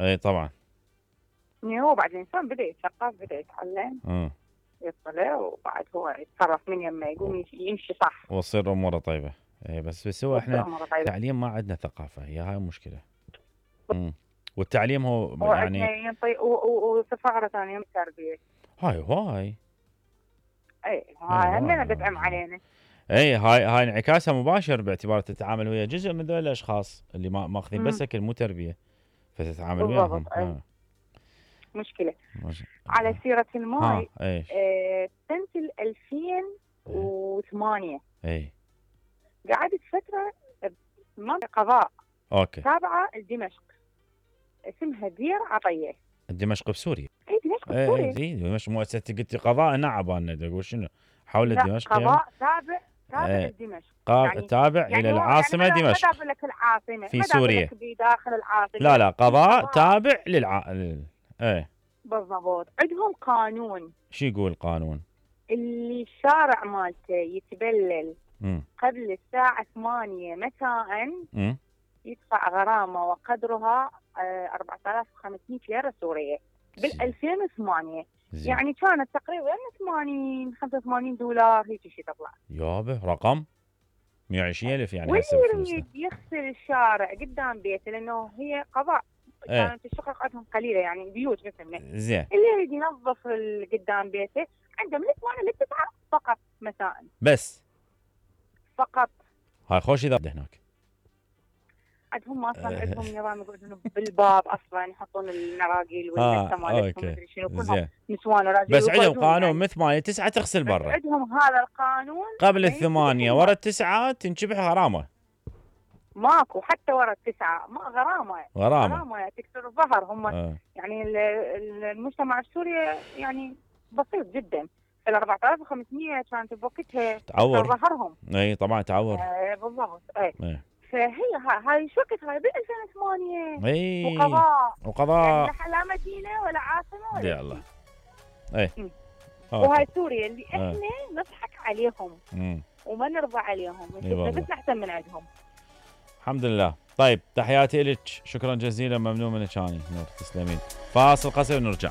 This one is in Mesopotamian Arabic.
اي طبعا. هو بعد الانسان بدا يتثقف، بدا يتعلم، يطلع، وبعد هو يتصرف من يمه، يقوم يمشي صح وتصير اموره طيبه. اي بس هو احنا تعليم ما عندنا ثقافه، هي هاي المشكله. والتعليم هو يعني وسفاره ثانيه التربيه. هاي هاي همنا بتعم علينا. اي هاي انعكاسها مباشر، باعتبار تتعامل ويا جزء من ذول الاشخاص اللي ماخذين بس اكل مو تربيه، فتتعامل وياهم. مشكله. على سيره الماي، سنه 2008 قعدت فتره بمنطقه قضاء تابعه لدمشق اسمها دير عطيه. دمشق بسوريا. اي دمشق بسوريا. اي دمشق مؤسسه. قلتي قضاء نعبان تقول شنو حول دمشق؟ قضاء تابع لدمشق، يعني تابع الى العاصمه يعني دمشق. ما لك العاصمه في سوريا بداخل العاصمه. لا قضاء تابع ايه بالضبط. عندهم قانون. شو يقول القانون؟ اللي الشارع مالته يتبلل قبل الساعه 8 مساء يدفع غرامه وقدرها 4500 ليره سوريه بال 2008. يعني كانت تقريبا 85 دولار هيك شيء تطلع. يابا رقم 120,000 يعني. هسه يريد يغسل الشارع قدام بيته لانه هي قضاء. كانت الشقق عندهم قليله يعني بيوت مثلنا. زين. اللي يريد ينظف قدام بيته عنده من 8 ل 9 فقط مساء. بس فقط. هاي خوش اذا هناك. عندهم اصلا عندهم نظام يقولون بالباب اصلا يحطون النراقيل والمسه مالتهم مدري شنو كلهم نسوان وراجل. بس عندهم قانون من 8 ل 9 تغسل برا. عندهم هذا القانون. قبل 8 ورا 9 تنشبح غرامه. ماكو حتى ورا 9 ما غرامه تكسر الظهر. هم يعني المجتمع السوري يعني بسيط جدا. ال 4500 كانت بوقتها تعور ظهرهم. اي طبعا تعور. بالضبط. فهي هاي شو وقت هاي ب 2008. اي وقضاء يعني لا مدينه ولا عاصمه ولا يا الله. اي وهاي سوريا اللي احنا نضحك عليهم وما نرضى عليهم بس احسن من عندهم. الحمد لله. طيب تحياتي لك، شكرا جزيلا، ممنون منك. نور تسلمين. فاصل قصير ونرجع.